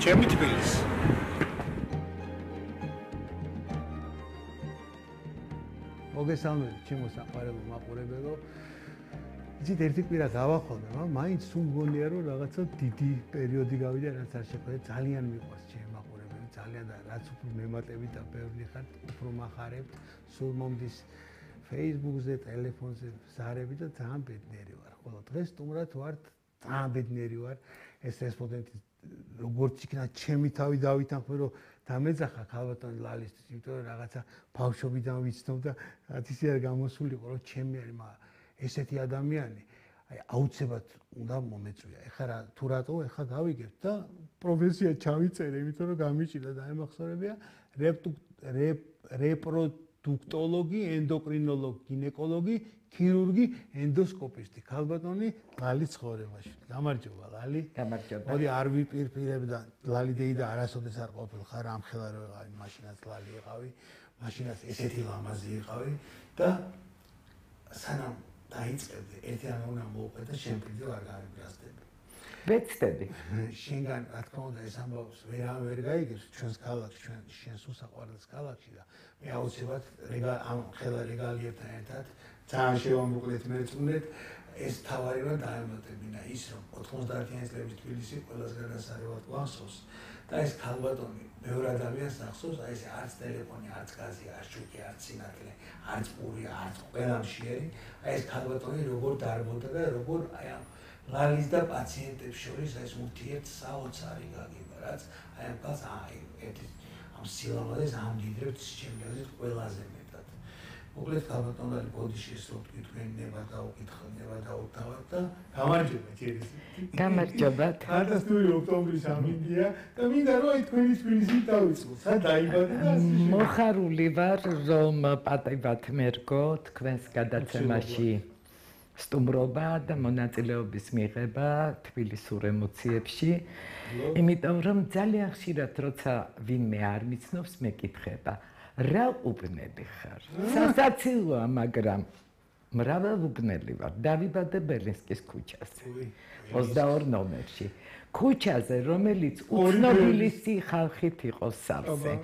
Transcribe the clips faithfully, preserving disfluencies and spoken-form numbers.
ჩემი თბილისი. მოგესალმებით, ჩემო საყვარელო მაყურებელო. იცით, ერთი კვირა გავახონე, მაგრამ მაინც სულ მგონია, რომ რაღაცა დიდი პერიოდი გავიდა, რაც არ შეხვედე, ძალიან მიყვარს ჩემი მაყურებელი, ძალიან და რაც უფრო მემატებით და ბევრი ხარ, უფრო მახარებთ, სულ მომდის Facebook-ზე, ტელეფონზე ზარები და ძალიან ბედნიერი ვარ. ხოლო დღეს სტუმრად ვართ, ძალიან ბედნიერი ვარ. ეს რესპონდენტი როგორც იქნა ჩემი თავი დავითანხმე, რომ დამეძახა ქალბატონ ლალისთვის, იმიტომ რომ რაღაცა ბავშვობიდან ვიცნობ და რაც ისე არ გამოსულიყო, რომ ჩემი არის, მაგრამ ესეთი ადამიანი, აი აუცილებლად უნდა მომეწვია. ეხლა რა თუ რატო, ეხლა გავიგებ და პროფესია ჩავიწერე, იმიტომ რომ გამიჭირდა და ემახსოვრებია რეპროდუქტოლოგი, ენდოკრინოლოგი, გინეკოლოგი, ქირურგი, ენდოსკოპისტი, ქალბატონი ლალი ცხოვრებაში. გამარჯობა ლალი. გამარჯობა. მოდი არ ვიპირპირებ და ლალი დეიდა არასოდეს არ ყოფილ ხარ ამ ხელა რო ვიყავი, მაშინაც ლალი იყავი, მაშინაც ესეთი ლამაზი იყავი და სანამ დაიწყებდი, ერთი რამე უნდა მოვუყე და შენ პირდე არ გარემრასდები. ვეცდები. შენგან რა თქმა უნდა ეს ამბავს ვერავინ ვერ გაიგებს ჩვენს ქალაქში, ჩვენ შენს უსაყვარლეს ქალაქში და მე აუცილებლად ამ ხელა რეგალიებთან ერთად ძალიან შევამოკლეთ მეწუნეთ ეს თავარი რომ დაემატებინა ის რომ ოთხმოცდაათიანი წლების თბილისი ყველას გადასარევად გვახსოვს და ეს ქალბატონი ბევრ ადამიანს ახსოვს, აი ეს არც ტელეფონი, არც გაზი, არც შუქი, არც სინათლე, არც პური, არც ყველამშიერი, აი ეს ქალბატონი როგორ დარბოდა და როგორ აი ამ ლალის და პაციენტებს შორის ეს ურთიერთ საოცარი გაგება, რაც აი ამ კაც აი ერთი ამ სილამაზეს ამდიდრებს ჩემი აზრით ყველაზე მეტად. მოკლედ ქალბატონი ბოდიში ეს რო თქვენ ნება დაუკითხო, ნება დაუთავად და გამარჯობა ჯერისი. გამარჯობა. ხარდასტური ოქტომბრის ამინდია და მინდა რომ აი თქვენი თბილისი დავიწყო. სად დაიბადა და მოხარული ვარ რომ პატივად მერგო თქვენს გადაცემაში სტუმრობა და მონაწილეობის მიღება თბილისურ ემოციებში, იმიტომ რომ ძალიან ხშირად როცა ვინმე არ მიცნობს მეკითხება, რა უბნელი ხარ? სასაცილოა, მაგრამ მრავალუბნელი ვარ. დავიბადე ბელინსკის ქუჩაზე, ოცდაორი ნომერში. ქუჩაზე, რომელიც უცნობილისი ხალხით იყო სავსე.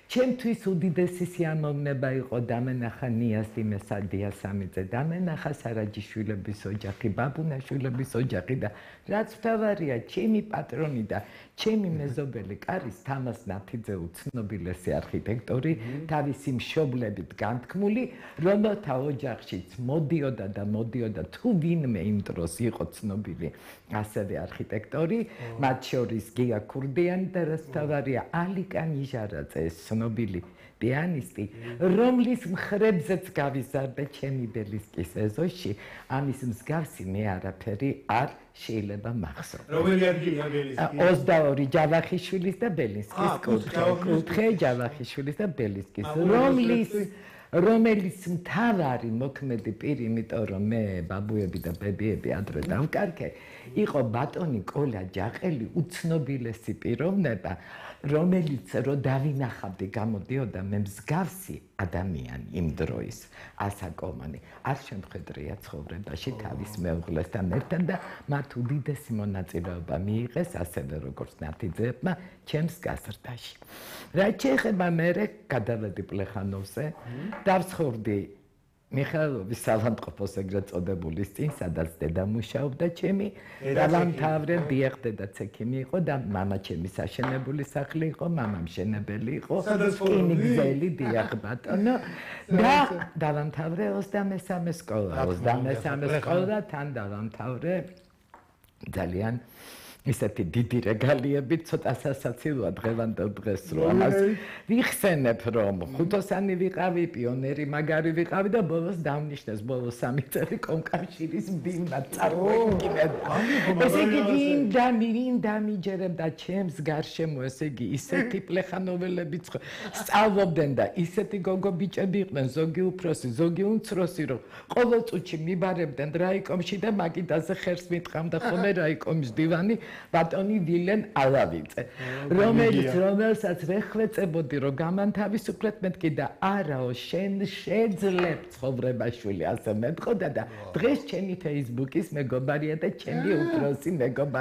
ჩემთვის უდიდესი სიამოვნება იყო დამენახა ნიას დიმესადია სამიძე, დამენახა სარაჯიშვილების ოჯახი, ბაბუნაშვილების ოჯახი და რაც მთავარია, ჩემი პატრონი და ჩემი მეზობელი კარის თამაზ ნათიძე უცნობილესი არქიტექტორი, თავისი მშობლებით განთქმული, რომელთა ოჯახშიც მოდიოდა და მოდიოდა თუ ვინმე იმ დროს იყო ცნობილი ასევე არქიტექტორი, მათ შორის გია ქურდიანი და რაც მთავარია, ალიკა ნიჟარაძე ცნობილი პიანისტი, რომლის მხრებზეც გავიზარდე ჩემი ბელინსკის ეზოში, ამის მსგავსი მე არაფერი არ შეიძლება მახსოვდეს. რომელი ადგილია ბელინსკი? ოცდაორი ჯავახიშვილის და ბელინსკის კუთხე, ჯავახიშვილის და ბელინსკის, რომლის რომელიც მთავარი მოქმედი პირი, იმიტომ რომ მე ბაბუები და ბებიები ადრე დავკარგე, იყო ბატონი კოლა ჯაყელი, უცნობილესი პიროვნება, რომელიც რო დავინახავდი გამოდიოდა მე მსგავსი ადამიანი იმ დროის ასაკომანი არ შემხედრია ცხოვრებაში თავის მეუღლესთან ერთად და მათ უდიდესი მონაწილეობა მიიღეს ასევე როგორც ნათიძეებმა ჩემს გაზრდაში. რაც შეეხება მერე გადავედი პლეხანოვზე, დავცხოვრდი მიხაილოვის სავანტყოფოს ეგრეთ წოდებულის წინ, სადაც დედა მუშაობდა ჩემი, დავამთავრე, დიახ, დედაც ექიმი იყო და მამა ჩემი საშენებული სახლი იყო, მამა მშენებელი იყო, რკინიგზელი, დიახ ბატონო და დავამთავრე ოცდამესამე სკოლა, ოცდამესამე სკოლა თან დავამთავრე ძალიან ისეთი დიდი რეგალიები, ცოტა სასაცილოა დღევანდელ დღეს რომ ამას ვიხსენებ, რომ ხუთოსანი ვიყავი, პიონერი მაგარი ვიყავი და ბოლოს დავნიშნეს ბოლოს სამი წელი კომკავშირის ბიმბად წარმოიდგინეთ. ესე იგი ვინ და ვინ დამიჯერებდა ჩემს გარშემო, ესე იგი ისეთი პლეხანოველები სწავლობდნენ და ისეთი გოგო ბიჭები იყვნენ, ზოგი უფროსი, ზოგი უმცროსი, რომ ყოველ წუთში მიბარებდნენ რაიკომში და მაგიდაზე ხერს მიტყამდა ხოლმე რაიკომის დივანი ბატონი ვილენ ალავიძე, რომელიც რომელსაც ვეხვეწებოდი რომ გამანთავისუფლეთ მეთქი და არაო შენ შეძლებ ცხოვრებაშვილი ასე მეტყოდა და დღეს ჩემი Facebook-ის მეგობარია და ჩემი უფროსი მეგობარი